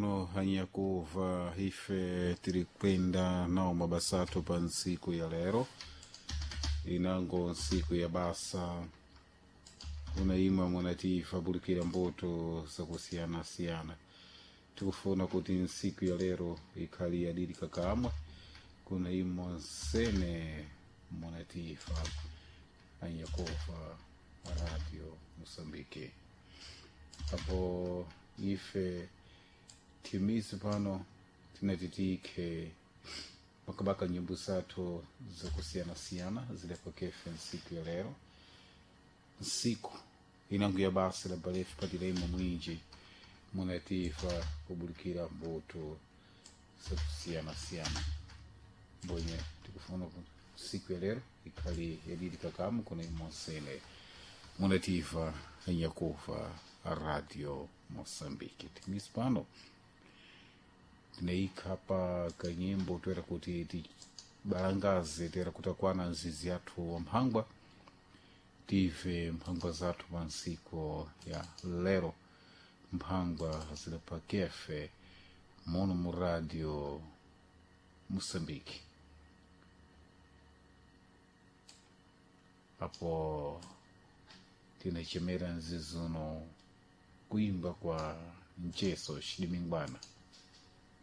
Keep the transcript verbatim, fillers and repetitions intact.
Mono hanyakuva ife tiri kwenda nao mabasathu pa ntsiku ya lero inango ntsiku ya basa unaima munatifa bulikira mbuto zakusiyana-siyana tikufuna kuti ntsiku ya lero ikhali yadiri kakamwe kuna imo nsene munatifa anyakuva radio Moçambique apo ife timizi pano tinatitike makabaka nyimbo zathu zakusiyana-siyana zilepokefe ntsiku ya lero nsiku inango ya basa la balefu patilemo mwinji munatifa kubulikira mbuto zakusiyana-siyana mbonye tikufuna ku siku ya lero ikhali yadidi kakamu kuna imonsene munativa anyakuva radio Moçambique timisi pano tineikha pa kanyimbo toera kuti tibalangaze toera kuti akwana nzizi yathu wa mphangwa tive mphangwa zathu pa ntsiku ya lero mphangwa zilepakefe mono mu radio Moçambique apo tinachemera nzizuno kuimba kwa mcheso xidimingwana.